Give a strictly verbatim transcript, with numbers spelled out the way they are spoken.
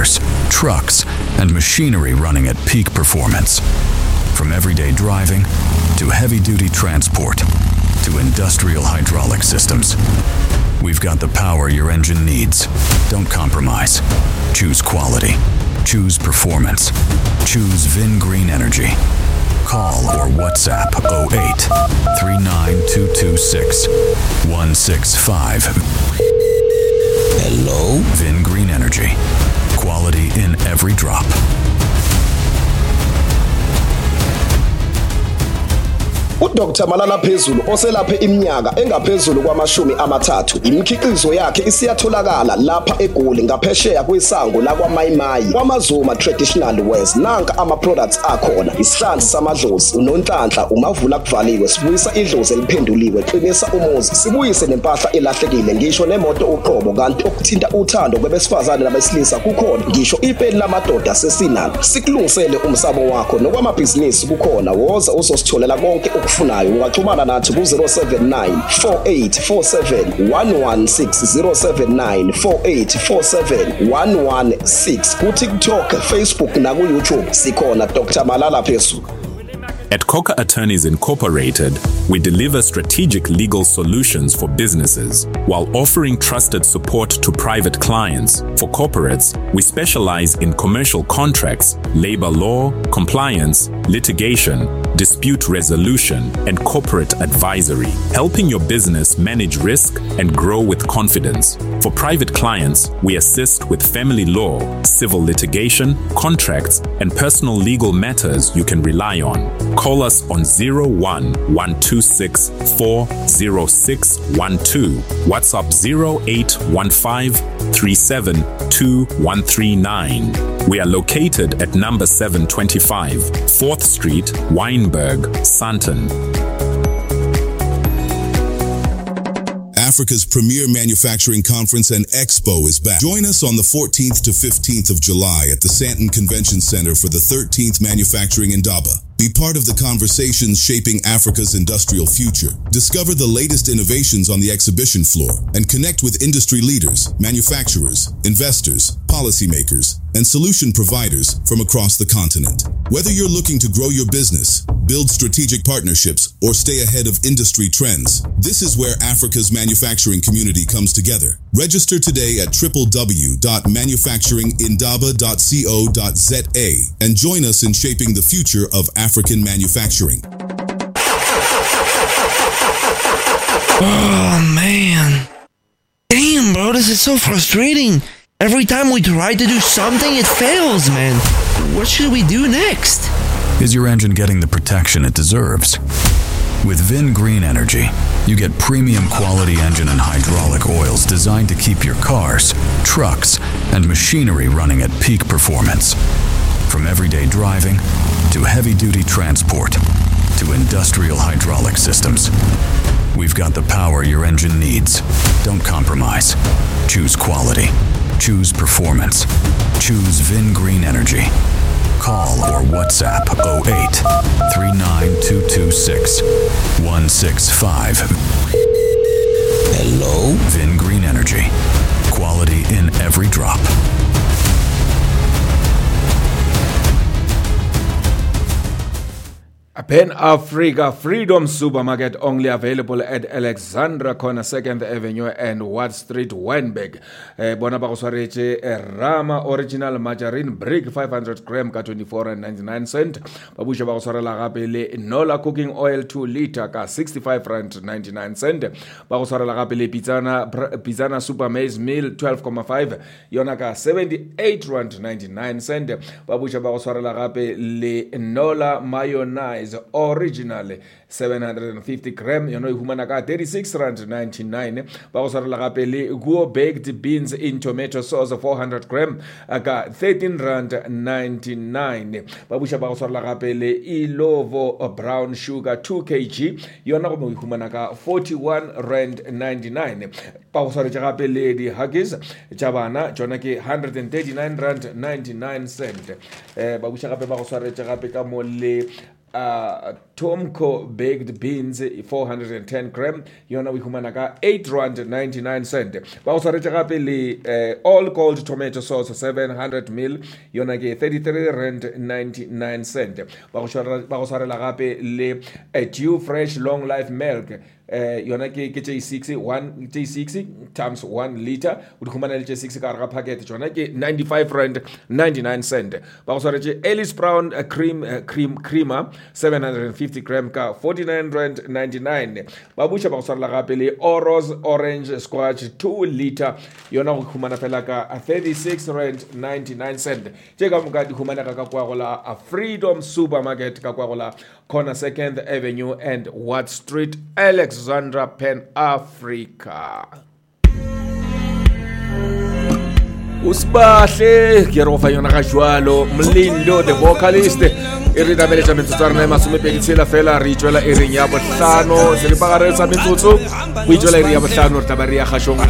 cars, trucks, and machinery running at peak performance. From everyday driving to heavy duty transport to industrial hydraulic systems. We've got the power your engine needs. Don't compromise. Choose quality. Choose performance. Choose VinGreen Energy. Call or WhatsApp oh eight three nine two two six one six five. Hello? VinGreen Energy. Quality in every drop. uDoctor Malala Phezulu oselaphe iminyaka engaphezulu kwamashumi amathathu imikhiqizo yakhe isiyatholakala lapha eGoli ngaphesheya kwesango lakwaMayimayi kwaMazuma Traditional Wears. Nanka ama products akhona: isihlanzi samadlozi, unonhlanhla, umavula kuvaliwe, sibuyisa idlozi eliphenduliwe, qinisa umuzi, sibuyise nempahla elahlekile, ngisho nemoto uqobo. Kanti okuthinta uthando kwebesifazane nabesilisa kukhona, ngisho ipeni lamadoda sesinalo. Sikulungisele umsamo wakho nokwamabhizinisi kukhona. Woza uzositholela konke okufunayo. Ungaxhumana nathi ku zero seven nine four eight four seven one one six, zero seven nine four eight four seven one one six, ku TikTok, Facebook na ku YouTube sikhona. Doctor Malala Phezulu. At Coca Attorneys Incorporated, we deliver strategic legal solutions for businesses while offering trusted support to private clients. For corporates, we specialize in commercial contracts, labor law, compliance, litigation, dispute resolution, and corporate advisory, helping your business manage risk and grow with confidence. For private clients, we assist with family law, civil litigation, contracts, and personal legal matters you can rely on. Call us on zero one one two six four zero six one two, WhatsApp zero eight one five three seven two one three nine. We are located at number seven twenty-five, fourth Street, Wynberg, Sandton. Africa's premier manufacturing conference and expo is back. Join us on the fourteenth to fifteenth of July at the Sandton Convention Center for the thirteenth Manufacturing Indaba. Be part of the conversations shaping Africa's industrial future. Discover the latest innovations on the exhibition floor and connect with industry leaders, manufacturers, investors, policymakers, and solution providers from across the continent. Whether you're looking to grow your business, build strategic partnerships, or stay ahead of industry trends, this is where Africa's manufacturing community comes together. Register today at w w w dot manufacturing indaba dot co dot z a and join us in shaping the future of African manufacturing. Oh, man. Damn, bro, this is so frustrating. Every time we try to do something, it fails, man. What should we do next? Is your engine getting the protection it deserves? With VinGreen Energy, you get premium quality engine and hydraulic oils designed to keep your cars, trucks, and machinery running at peak performance. From everyday driving to heavy-duty transport to industrial hydraulic systems, we've got the power your engine needs. Don't compromise. Choose quality. Choose performance. Choose VinGreen Energy. Call or WhatsApp oh eight three nine two two six one six five. Hello? VinGreen Energy. Quality in every drop. Pan Africa Freedom Supermarket, only available at Alexandra Corner, second Avenue and Watt Street, Wynberg. Eh, bona ba go swaretše, eh, Rama Original Margarine Brick five hundred gram ka twenty-four and ninety-nine cent. Ba buša ba go swarela gape le Nola Cooking Oil two liter ka sixty-five rand ninety-nine cent. Ba go swarela gape le Pizzana, Pizzana Super Maize Meal twelve comma five yona ka seventy-eight rand ninety-nine cent. Ba buša ba go swarela gape le Nola Mayonnaise Original seven hundred and fifty gram yona e humana ka thirty-six rand ninety-nine. Ba go swarela gape le Guo baked beans in tomato sauce four hundred gram ka thirteen rand ninety-nine. Ba buša ba go swarela gape le Ilovo brown sugar two kilograms yona go mo e humana ka forty-one rand ninety-nine. Ba go swaretše gape le di Huggies tša bana tšona ke hundred and thirty-nine rand ninety-nine cent. Eh, ba buša gape ba go swaretše gape ka mo le Uh, Tomco baked beans four hundred and ten gram yona o e humana ka eight rand ninety nine cent. Ba go swaretše gape le eh, all gold tomato sauce seven hundred mil yona ke thirty three rand ninety nine cent. Ba go tshwara- ba go swarela gape le eh, Dew Fresh long life milk eh yona ke ke tše six one tše six times one liter o di humana le tše six ka gare ga packet tšona ke ninety five rand ninety nine cent. Ba go swaretše Ellis Brown eh, cream eh, cream creamer seven hundred and fifty gram ka forty nine rand ninety nine. Ba buša ba go swarela gape le Oros orange squash two liter yona go humana fela ka thirty six rand ninety nine cent. Tše ka moka di humanega ka kwa go la Freedom Supermarket ka kwa go la corner Second Avenue and Watt Street, Alexandra, Pan Africa. Usibahle ke re go fa yona ga jwalo Mlindo the vocalist e re nameletša metsotso ya rena e masomepedi tshela fela re itšwela ering ya bohlano seripagare sa metsotso go itšwela iri ya bohlano re tla ba re ya kgašong.